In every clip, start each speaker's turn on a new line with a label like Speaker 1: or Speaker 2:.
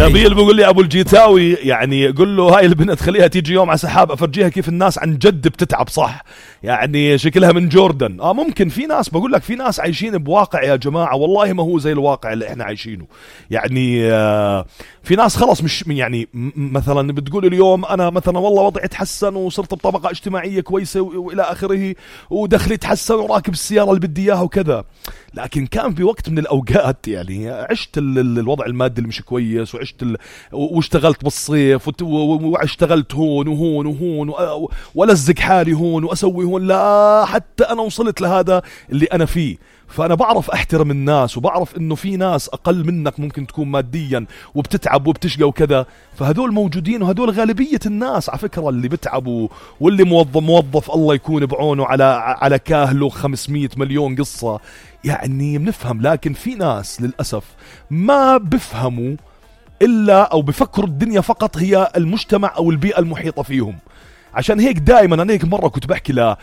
Speaker 1: نبيل بيقول لي ابو الجيتاوي يعني قل له هاي البنت خليها تيجي يوم على سحاب افرجيها كيف الناس عن جد بتتعب صح، يعني شكلها من جوردن. ممكن في ناس، بقول لك في ناس عايشين بواقع يا جماعة والله ما هو زي الواقع اللي احنا عايشينه. يعني في ناس خلص مش يعني مثلا بتقول اليوم انا مثلا والله وضعي تحسن وصرت بطبقة اجتماعية كويسة والى اخره ودخلي تحسن وراكب السيارة اللي بدي اياها وكذا، لكن كان في وقت من الاوقات يعني عشت الوضع المادي اللي مش كويس، وعشت واشتغلت بالصيف واشتغلت هون وهون وهون ولزق حالي هون واسوي هون، لا حتى انا وصلت لهذا اللي انا فيه. فانا بعرف احترم الناس وبعرف انه في ناس اقل منك ممكن تكون ماديا وبتتعب وبتشقى وكذا، فهدول موجودين وهدول غالبية الناس على فكرة اللي بتعبوا، واللي موظف الله يكون بعونه على كاهله 500 مليون قصة يعني بنفهم. لكن في ناس للأسف ما بفهموا إلا أو بفكروا الدنيا فقط هي المجتمع أو البيئة المحيطة فيهم. عشان هيك دائما انا هيك مره كنت بحكي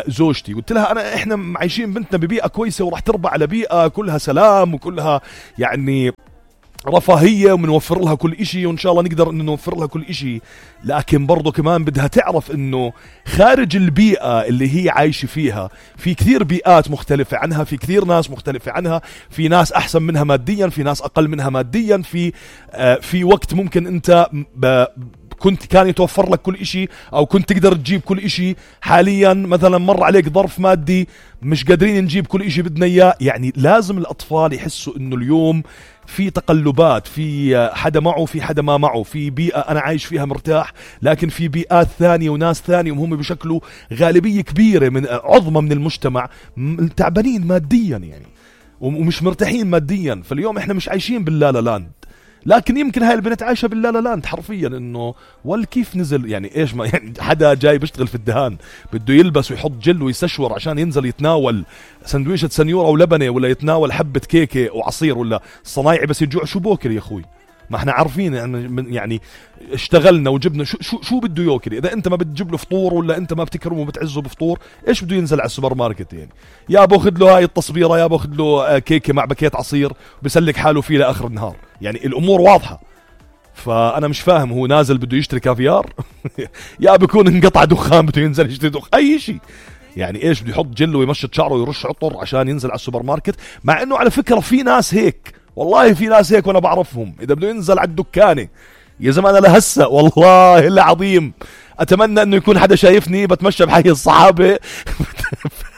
Speaker 1: لزوجتي قلت لها احنا عايشين بنتنا ببيئه كويسه وراح تربى على بيئه كلها سلام وكلها يعني رفاهيه ومنوفر لها كل إشي وان شاء الله نقدر انه نوفر لها كل إشي، لكن برضو كمان بدها تعرف انه خارج البيئه اللي هي عايشه فيها في كثير بيئات مختلفه عنها، في كثير ناس مختلفه عنها، في ناس احسن منها ماديا، في ناس اقل منها ماديا، في وقت ممكن انت كان يتوفر لك كل إشي أو كنت تقدر تجيب كل إشي، حاليا مثلا مر عليك ظرف مادي مش قادرين نجيب كل إشي بدنا إياه. يعني لازم الأطفال يحسوا إنه اليوم في تقلبات، في حدا معه في حدا ما معه، في بيئة أنا عايش فيها مرتاح لكن في بيئات ثانية وناس ثانية وهم بشكله غالبية كبيرة من عظمة من المجتمع تعبانين ماديا يعني ومش مرتاحين ماديا. فاليوم إحنا مش عايشين باللالا لاند، لكن يمكن هاي البنت عايشة باللالا لاند حرفيا، انه كيف نزل يعني ايش ما يعني حدا جاي بيشتغل في الدهان بده يلبس ويحط جل ويستشور عشان ينزل يتناول سندويشة سنيورة ولبنة ولا يتناول حبة كيكة وعصير، ولا الصنايعي بس يجوع شو بوكر يا اخوي؟ ما احنا عارفين يعني اشتغلنا وجبنا شو بده ياكل. اذا انت ما بتجيب له فطور ولا انت ما بتكرمه وبتعزه بفطور ايش بده ينزل على السوبر ماركت؟ يعني يا باخذ له هاي التصبيره يا باخذ له كيكه مع باكيت عصير بسلك حاله فيه لاخر النهار. يعني الامور واضحه. فانا مش فاهم هو نازل بده يشتري كافيار يا بيكون انقطع دخان بده ينزل يشتري اي شيء. يعني ايش بده يحط جل ويمشط شعره ويرش عطر عشان ينزل على السوبر ماركت؟ مع انه على فكره في ناس هيك، والله في ناس هيك وانا بعرفهم، اذا بده ينزل على الدكانه يا زمان انا لهسه والله العظيم اتمنى انه يكون حدا شايفني بتمشى بحي الصحابه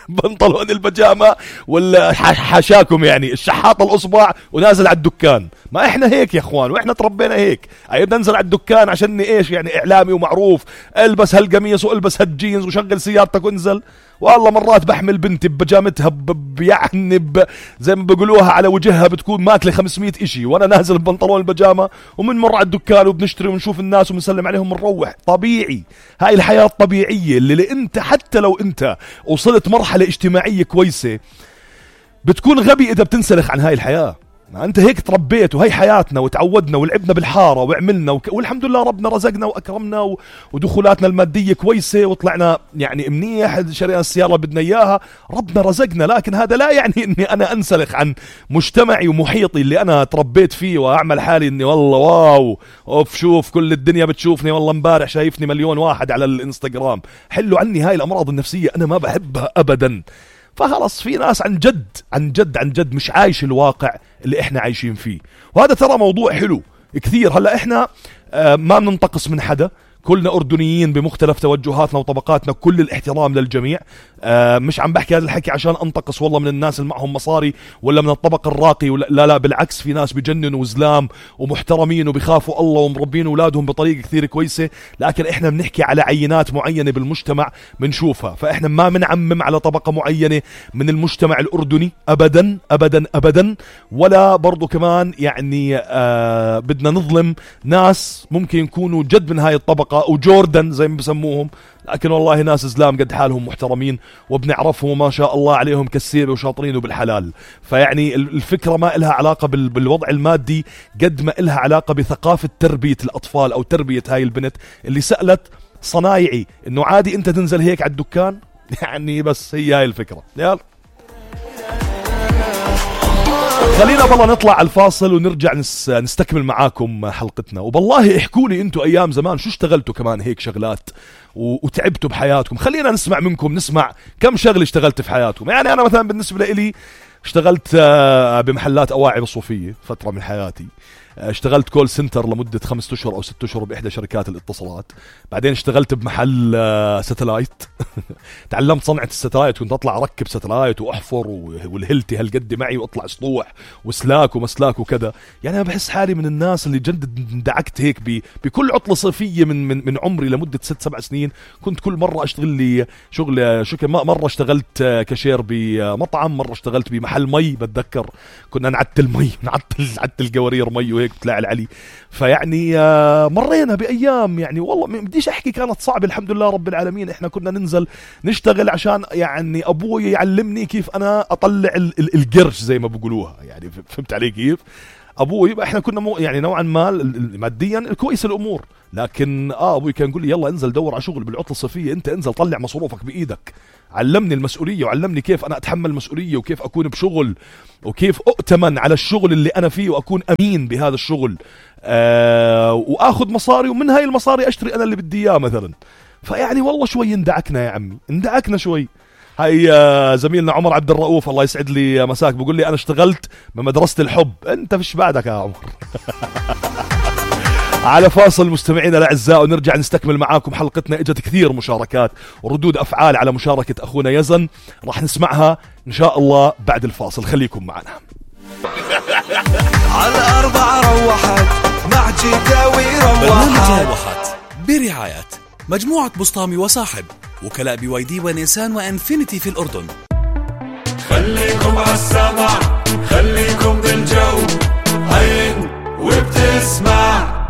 Speaker 1: بنطلون البجامه ولا حاشاكم يعني الشحاط الاصبع ونازل على الدكان. ما احنا هيك يا اخوان واحنا تربينا هيك. بدنا ننزل على الدكان عشان ايش؟ يعني اعلامي ومعروف، البس هالقميص والبس هالجينز وشغل سيارتك وانزل. والله مرات بحمل بنتي ببجامتها يعني زي ما بيقولوها على وجهها بتكون ماكله 500 إشي وانا نازل ببنطلون البجامه ومنمر على الدكان وبنشتري ونشوف الناس وبنسلم عليهم ونروح. طبيعي، هاي الحياه الطبيعيه اللي انت حتى لو انت وصلت مرحله اجتماعيه كويسه بتكون غبي اذا بتنسلخ عن هاي الحياه. انت هيك تربيت وهي حياتنا وتعودنا ولعبنا بالحاره وعملنا والحمد لله ربنا رزقنا واكرمنا ودخولاتنا الماديه كويسه وطلعنا يعني منيح، شرينا السياره اللي بدنا اياها، ربنا رزقنا. لكن هذا لا يعني اني انا انسلخ عن مجتمعي ومحيطي اللي انا تربيت فيه واعمل حالي اني والله واو اوف شوف كل الدنيا بتشوفني، والله امبارح شايفني مليون واحد على الانستغرام. حلوا عني هاي الامراض النفسيه انا ما بحبها ابدا. فخلص في ناس عن جد عن جد عن جد مش عايش الواقع اللي احنا عايشين فيه، وهذا ترى موضوع حلو كثير. هلا احنا ما بننتقص من حدا، كلنا أردنيين بمختلف توجهاتنا وطبقاتنا، كل الاحترام للجميع. مش عم بحكي هذا الحكي عشان أنتقص والله من الناس اللي معهم مصاري ولا من الطبق الراقي لا لا، بالعكس في ناس بجننوا وزلام ومحترمين وبيخافوا الله ومربين أولادهم بطريقة كثير كويسة. لكن إحنا بنحكي على عينات معينة بالمجتمع بنشوفها، فإحنا ما بنعمم على طبقة معينة من المجتمع الأردني أبدا أبدا أبدا، ولا برضو كمان يعني بدنا نظلم ناس ممكن يكونوا جد من هاي الطبقة أو جوردن زي ما بسموهم، لكن والله ناس إسلام قد حالهم محترمين وبنعرفهم ما شاء الله عليهم كالسيرة وشاطرين وبالحلال. فيعني الفكرة ما إلها علاقة بالوضع المادي قد ما إلها علاقة بثقافة تربية الأطفال أو تربية هاي البنت اللي سألت صنايعي إنه عادي أنت تنزل هيك على الدكان. يعني بس هي هاي الفكرة. يلا خلينا بالله نطلع على الفاصل ونرجع نستكمل معاكم حلقتنا. وبالله احكوا لي انتوا ايام زمان شو اشتغلتوا كمان هيك شغلات وتعبتوا بحياتكم. خلينا نسمع منكم، نسمع كم شغل اشتغلت في حياتكم. يعني انا مثلا بالنسبة لي اشتغلت بمحلات أواعي بالصوفية فترة من حياتي. اشتغلت كول سنتر لمدة 5 أشهر أو 6 أشهر بإحدى شركات الاتصالات. بعدين اشتغلت بمحل ساتلايت تعلمت صنعة الساتلايت، كنت أطلع أركب ساتلايت وأحفر والهلتي هالقد معي وأطلع سطوح وسلاك ومسلاك وكذا. يعني أنا بحس حالي من الناس اللي جد اندعكت هيك بكل عطلة صيفية من عمري لمدة 6-7 سنين. كنت كل مرة أشتغل لي شغل مرة اشتغلت كاشير بمطعم، مرة اشتغلت بمحل مي. بتذكر كنا نعتل مي، نعتل قوارير مي وهيك بتلاقي العلي. فيعني مرينا بأيام يعني والله ما بديش أحكي كانت صعبة، الحمد لله رب العالمين. إحنا كنا ننزل نشتغل عشان يعني أبوي يعلمني كيف أنا أطلع القرش زي ما بقولوها. يعني فهمت علي كيف؟ أبوي إحنا كنا يعني نوعا ما ماديا كويس الأمور، لكن أبوي كان يقول لي يلا انزل دور على شغل بالعطلة الصيفية، أنت انزل طلع مصروفك بإيدك. علمني المسؤولية وعلمني كيف أنا أتحمل مسؤولية وكيف أكون بشغل وكيف أؤتمن على الشغل اللي أنا فيه وأكون أمين بهذا الشغل، وأخذ مصاري ومن هاي المصاري أشتري أنا اللي بدي إياه مثلا. فيعني والله شوي اندعكنا يا عمي، اندعكنا شوي. هاي زميلنا عمر عبد الرؤوف الله يسعد لي مساك بقول لي أنا اشتغلت بمدرسة الحب. أنت فيش بعدك يا عمر. على فاصل مستمعينا الأعزاء ونرجع نستكمل معاكم حلقتنا. اجت كثير مشاركات وردود أفعال على مشاركة أخونا يزن، راح نسمعها إن شاء الله بعد الفاصل. خليكم معنا.
Speaker 2: على 4 روحت مع جداوي
Speaker 3: روحت برعاية مجموعة بسطامي وصاحب، وكلاء BYD ونيسان وانفينيتي في الأردن.
Speaker 2: خليكم عالسمع، خليكم بالجو، عين وبتسمع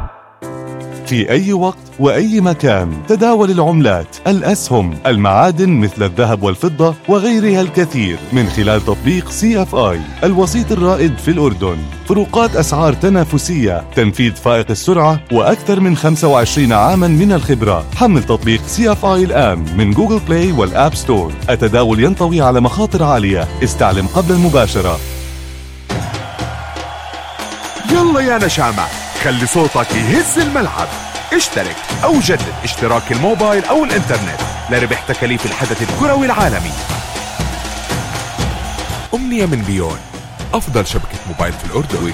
Speaker 4: في أي وقت وأي مكان. تداول العملات، الأسهم، المعادن مثل الذهب والفضة وغيرها الكثير من خلال تطبيق CFI الوسيط الرائد في الأردن. فروقات أسعار تنافسية، تنفيذ فائق السرعة، وأكثر من 25 عاما من الخبرة. حمل تطبيق CFI الآن من جوجل بلاي والآب ستور. التداول ينطوي على مخاطر عالية، استعلم قبل المباشرة.
Speaker 5: يلا يا نشامة، خلي صوتك يهز الملعب. اشترك أو جدد اشتراك الموبايل أو الإنترنت لربح تكاليف الحدث الكروي العالمي. أمنية من بيون، أفضل شبكة موبايل في الأردن.